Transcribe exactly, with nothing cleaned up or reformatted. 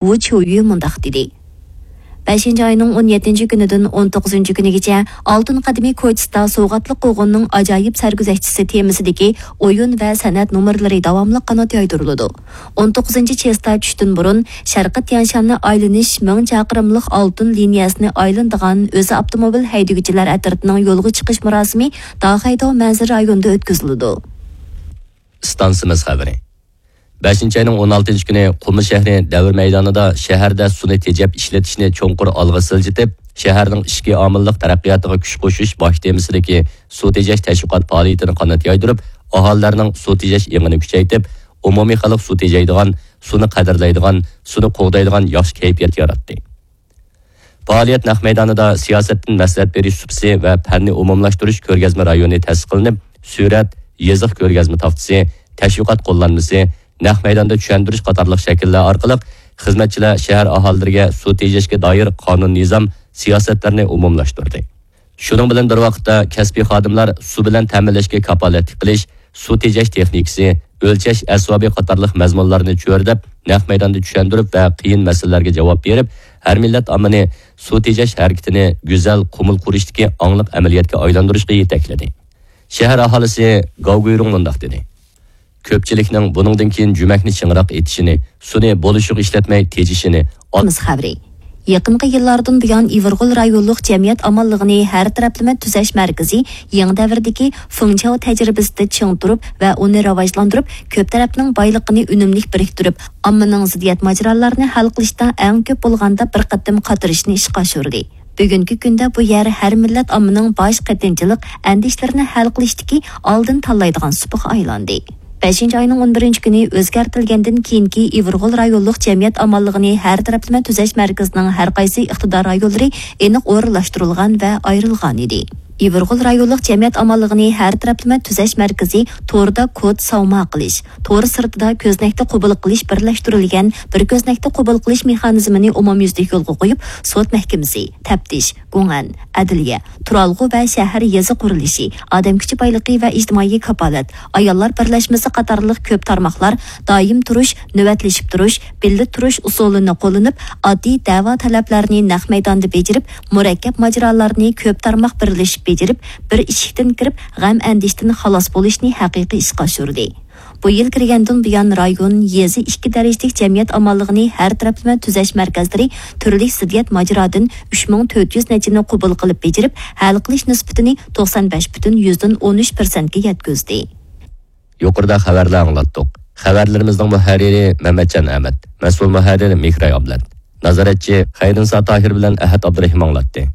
ۋۇ چيۇيۈ مۇنداق دېدى: بەشىنچى ئاينىڭ ئون يەتتىنچى كۈنىدىن ئون توققۇزىنچى كۈنىگىچە ئالتۇن قەدىمى كوچىسىدا سوۋغاتلىق قوغۇننىڭ ئاجايىپ سەرگۈزەشتىسى تېمىسىدىكى ئويۇن ۋە سەنئەت نومۇرلىرى داۋاملىق قانات يايدۇرۇلىدۇ. ئون توققۇزىنچى چېستا چۈشتىن بۇرۇن شەرقىي تيەنشاننى ئايلىنىش مىڭ چاقىرىملىق ئالتۇن لىنىيەسىنى ئايلىنىدىغان ئۆزى ئاپتوموبىل ھەيدىگۈچىلەر ئەترىتىنىڭ يولغا چىقىش مۇراسىمى داخەيداۋ مەنزىرە رايونىدا ئۆتكۈزۈلىدۇ. ئىستانسىمىز خەۋىرى. بەشىنچى ئاينىڭ ئون ئالتىنچى كۈنى قۇمۇل شەھىرى دەۋر مەيدانىدا شەھەردە سۇنى تېجەپ ئىشلىتىشنى چوڭقۇر ئالغا سىلجىتىپ، شەھەرنىڭ ئىچكى ئامىللىق تەرەققىياتىغا كۈچ قوشۇش باش تېمىسىدىكى سۇ تېجەش تەشۋىقات پائالىيىتىنى قانات يايدۇرۇپ، ئاھالىلەرنىڭ سۇ تېجەش ئېڭىنى كۈچەيتىپ، ئومۇمىي خەلق سۇ تېجەيدىغان، سۇنى قەدىرلەيدىغان، سۇنى قوغدايدىغان ياخشى كەيپىيات ياراتتى. پائالىيەت نەق مەيدانىدا سىياسەتتىن مەسلىھەت بېرىش سۇپىسى ۋە پەننى ئومۇملاشتۇرۇش كۆرگەزمە رايونى تەسىس قىلىنىپ، سۈرەت، يېزىق كۆرگەزمە تاختىسى، تەشۋىقات قوللانمىسى، نەق مەيداندا چۈشەندۈرۈش قاتارلىق شەكىللەر ئارقىلىق خىزمەتچىلەر شەھەر ئاھالىلىرىگە سۇ تېجەشكە دائىر قانۇن نىزام، سىياسەتلەرنى ئومۇملاشتۇردى. شۇنىڭ بىلەن بىر ۋاقىتتا، كەسپىي خادىملار سۇ بىلەن تەمىنلەشكە كاپالەتلىك قىلىش، سۇ تېجەش تېخنىكىسى، ئۆلچەش ئەسۋابى قاتارلىق مەزمۇنلارنى چۆرىدەپ، نەق مەيداندا چۈشەندۈرۈپ ۋە قىيىن مەسىلىلەرگە جاۋاب بېرىپ، ھەر مىللەت ئاممىنى سۇ تېجەش ھەرىكىتىنى گۈزەل قۇمۇل قۇرۇشتىكى ئاڭلىق ئەمەلىيەتكە ئايلاندۇرۇشقا يېتەكلىدى. شەھەر ئاھالىسى گاۋ گۇيرۇڭ مۇنداق دېدى: كۆپچىلىكنىڭ بۇنىڭدىن كېيىن جۈمەكنى چىڭراق ئېتىشىنى، سۇنى بولۇشىغا ئىشلەتمەي تېجىشىنى، ئاتمىز خەۋىرى. يېقىنقى يىللاردىن بۇيان، ئىۋىرغول رايونلۇق جەمئىيەت ئامانلىقىنى ھەر تەرەپلىمە تۈزەش مەركىزى يېڭى دەۋردىكى فېڭچياۋ تەجرىبىسىدە چىڭ تۇرۇپ ۋە ئۇنى راۋاجلاندۇرۇپ، كۆپ تەرەپنىڭ بايلىقىنى ئۈنۈملۈك بىرىكتۈرۈپ، ئاممىنىڭ زىددىيەت ماجىرالارنى ھەل قىلىشتا ئەڭ كۆپ بولغاندا بىر قېتىم قاتنىشىشنى ئىشقا ئاشۇردى. بۈگۈنكى كۈندە بۇ يەر ھەر مىللەت ئاممىنىڭ باش قېتىنچىلىق ئەندىشىلىرىنى ھەل قىلىشتىكى ئالدىن تاللايدىغان سۇپىغا ئايلاندى. بەشىنچى ئاينىڭ ئون بىرىنچى كۈنى ئۆزگەرتىلگەندىن كېيىنكى ئىۋىرغول رايونلۇق جەمئىيەت ئامانلىقىنى ھەر تەرەپلىمە تۈزەش مەركىزىنىڭ ھەر قايسى ئىقتىدار رايونلىرى ئېنىق ئورۇنلاشتۇرۇلغان ۋە ئايرىلغان ئىدى. ئىۋىرغول رايونلۇق جەمئىيەت ئامانلىقىنى ھەر تەرەپلىمە تۈزەش مەركىزى توردا كود ساۋما قىلىش، تور سىرتىدا كۆزنەكتە قوبۇل قىلىش بىرلەشتۈرۈلگەن بىر كۆزنەكتە قوبۇل قىلىش مېخانىزمىنى ئومۇميۈزلۈك يولغا قويۇپ، سوت مەھكىمىسى، تەپتىش، گۇڭئەن، ئەدلىيە، تۇرالغۇ ۋە شەھەر يېزا قۇرۇلۇشى، ئادەم كۈچى بايلىقى ۋە ئىجتىمائىي كاپالەت، ئاياللار بىرلەشمىسى قاتارلىق كۆپ تارماقلار دائىم تۇرۇش، نۆۋەتلىشىپ تۇرۇش، بىللە تۇرۇش ئۇسۇلىنى قوللىنىپ، ئاددىي دەۋا تەلەپلەرنى نەق مەيداندا بېجىرىپ، مۇرەككەپ ماجىرالارنى كۆپ تارماق بىرلىشىپ بېجىرىپ، بىر ئىشىكتىن كىرىپ، غەم-ئەندىشىدىن خالاس بولۇشنى ھەقىقىي ئىشقا ئاشۇردى. بۇ يىل كىرگەندىن بۇيان، رايون، يېزا ئىككى دەرىجىلىك جەمئىيەت ئامانلىقىنى ھەر تەرەپلىمە تۈزەش مەركەزلىرى تۈرلۈك زىددىيەت ماجىرادىن ئۈچ مىڭ تۆت يۈز نەچچىنى قوبۇل قىلىپ بېجىرىپ، ھەل قىلىش نىسبىتىنى توقسان بەش پۈتۈن يۈزدىن ئون ئۈچ پىرسەنتكە يەتكۈزدى. يۇقىرىدا خەۋەرلەر ئاڭلاتتۇق. خەۋەرلىرىمىزنىڭ مۇھەررىرى مەمەتجان ئەمەت، مەسئۇل مۇھەررىر مېھراي ئابلەت، نازارەتچى خەيرىنسا تاھىر بىلەن ئەھەت ئابدۇرېھىم ئاڭلاتتى.